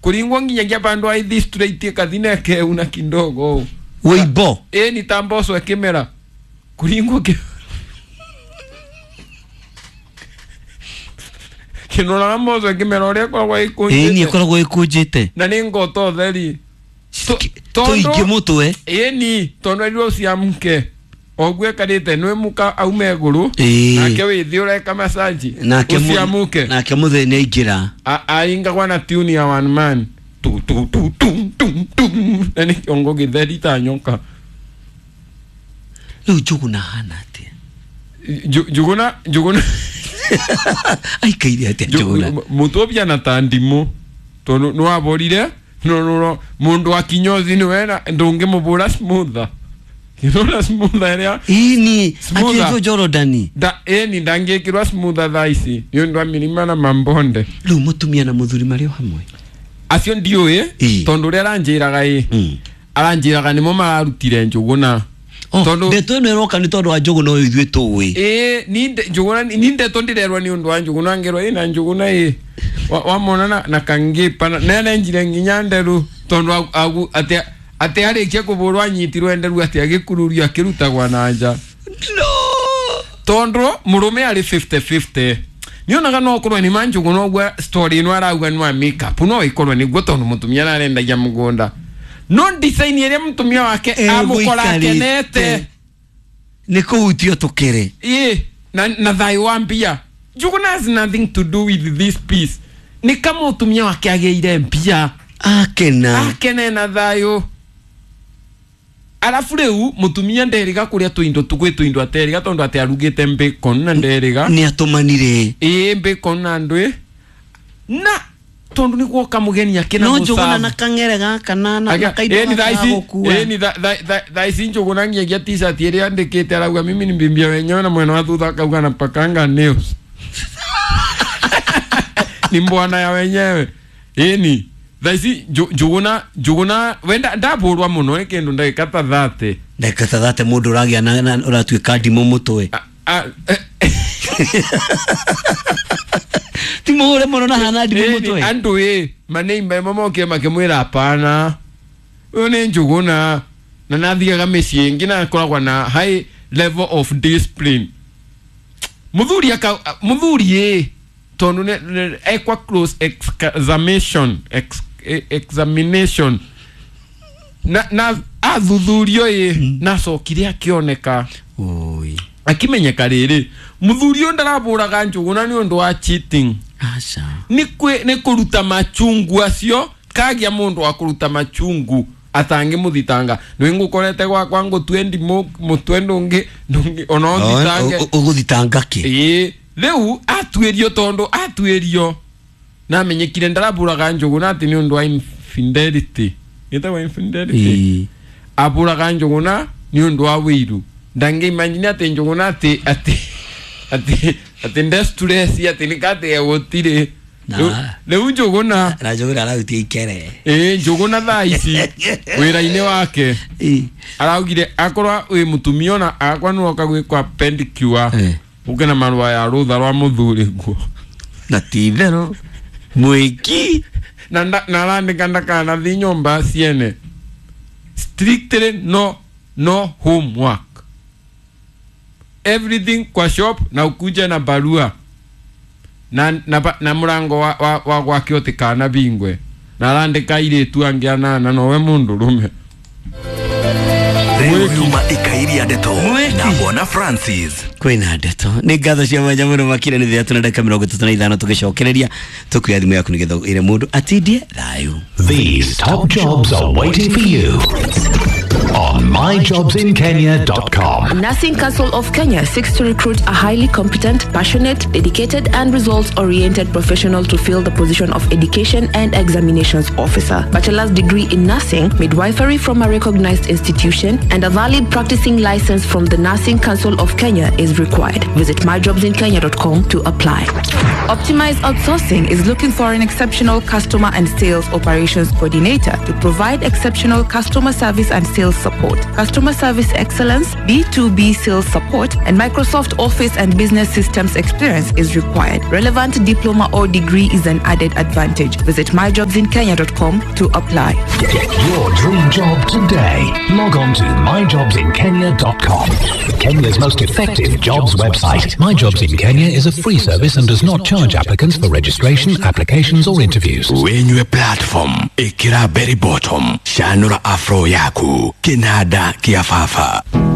Kuringwa nginyagia bandu aithi straight kathine ke una kidogo. Weibo. Ni tamboso ekimera. Kuringwa ke kinora mboso ekimera uria koragwo ikunjite. Ni koragwo ikunjite. Na ni ngoto theri. Tuingi mutwe. Ni tondu erirwo ciamke. Ogwe karite nwe muka aume iguru nake withi ureka massage uciamuke nake mutheni aingira aingagwa na tune ya one man tu tu tu tu tu tu na ni kiongo githeri ta nyoka. Riu Njuguna hana atia? Njuguna aikaire atia Njuguna? Mutobia na ta ndimu tondu niwaborire no mundu wa kinyozi niwe na ndungimubura smoother. Kinora smoother area. Ini atizo Jordan. Da eni ndangikirwa smoother thaa ici. Ni undu wa mirima na mambonde. Riu mutumia na muthuri mari o hamwe. Acio ndiũĩ tondu uria aranjiraga aranjiraga nimo mararutire Njuguna. Tondu ndeto ĩno ĩroka nĩ tondu wa Njuguna ũyũ ithuĩ tũĩ. Ni Njuguna ni ndeto ndirerwa ni undu wa Njuguna ngerwa ina Njuguna wamona na kangipa na nenjire nginya nderu tondu agu atia ati arikia kuburwa anyitirwo enderu ati agikururio akirutagwa na nja. No. Tondu murume ari 50-50. Nionaga no korwo ni manjugu no gwa story ino arauga ni wa makeup no ikorwo ni guo tondu mutumia arendagia mugunda. No design iria mutumia wake amukora akenete ni kuhutio tukire. Na thayo wa mbia. Njuguna has nothing to do with this piece. Ni kama mutumia wake ageire mbia. Akena. Akene na thayo. Alafu riu mutumia nderiga kuria tuindo tugwe tuindo ateriga tondu ati arugite bacon na nderiga ni atumanire bacon na ndwe na tondu ni gwoka mugeni akina no Njuguna na kangere gaka na kaindo ni thaici ni thaici Njuguna ngiagia t-shirt iria andikite arauga mimi ni mbimbia wenyewe na mwena wa thutha akauga na pakanga nails. Ni mbwana ya wenyewe. Ni thaici Njuguna wenda ndaburwa muno ni kindu ndagika ta 30. Ndagika ta 30 mundu uragia na uratuika ndimũ mutwe. Ti muhure muno na hana ndimũ mutwe. Andu maneimba mamokire makimwira hapana. Uyu ni Njuguna na nathiaga mĩciĩ ĩngĩ na akoragwo na high level of discipline. Muthuri muthuri tondu ekwa close examination examination na athuthurio na cokire akioneka akimenyeka riri muthuri uyu ndaraburaga Njuguna ni undu wa cheating. Aca ni kuruta machungu acio kagia mundu wa kuruta machungu atangi muthitanga ni ngukorete gwakwa ngutue ndimũ mutwe ndungi ona uthitange uguthitanga ki riu atuirio tondu atuirio na menyekire ndaraburaga Njuguna ati ni undu wa infidelity. Itawa infidelity. Aburaga Njuguna ni undu wa wiru. Ndangi imagine ati Njuguna ati ati ati ati ndestress ati nikate gutire. Riu Njuguna na Njuguna arautie ikere. Njuguna thaa ici wira-ini wake araugire akorwa wi mutumia ona akwa nuoka gwikwa pedicure uke na marua ya rutha rwa muthuri guo na ti itherũ mwiki na narandika ndakanathi nyumba ciene strictly no homework, everything kwa shop na ukuje na barua na murango wa gwake utikana bingwe na arandika iritu angi anana nowe mundu rume. Riu ikairia ndeto na Bwana Francis kwina ndeto ni ngatho cia mwanya muno makire ni 3 na dakika 35 tugicokereria tukuya thimu yaku nigetha ire mundu atindie thayu. These top jobs are waiting for you on myjobsinkenya.com. Nursing Council of Kenya seeks to recruit a highly competent, passionate, dedicated and results-oriented professional to fill the position of Education and Examinations Officer. Bachelor's degree in nursing, midwifery from a recognized institution, and a valid practicing license from the Nursing Council of Kenya is required. Visit myjobsinkenya.com to apply. Optimize Outsourcing is looking for an exceptional customer and sales operations coordinator to provide exceptional customer service and sales support, customer service excellence, B2B sales support, and Microsoft Office and business systems experience is required. Relevant diploma or degree is an added advantage. Visit myjobsinkenya.com to apply. Get your dream job today. Log on to myjobsinkenya.com. Kenya's most effective jobs website. My Jobs in Kenya is a free service and does not charge applicants for registration, applications, or interviews. Wenywe platform ikira berry bottom shanura afro yaku kinada kiafafa.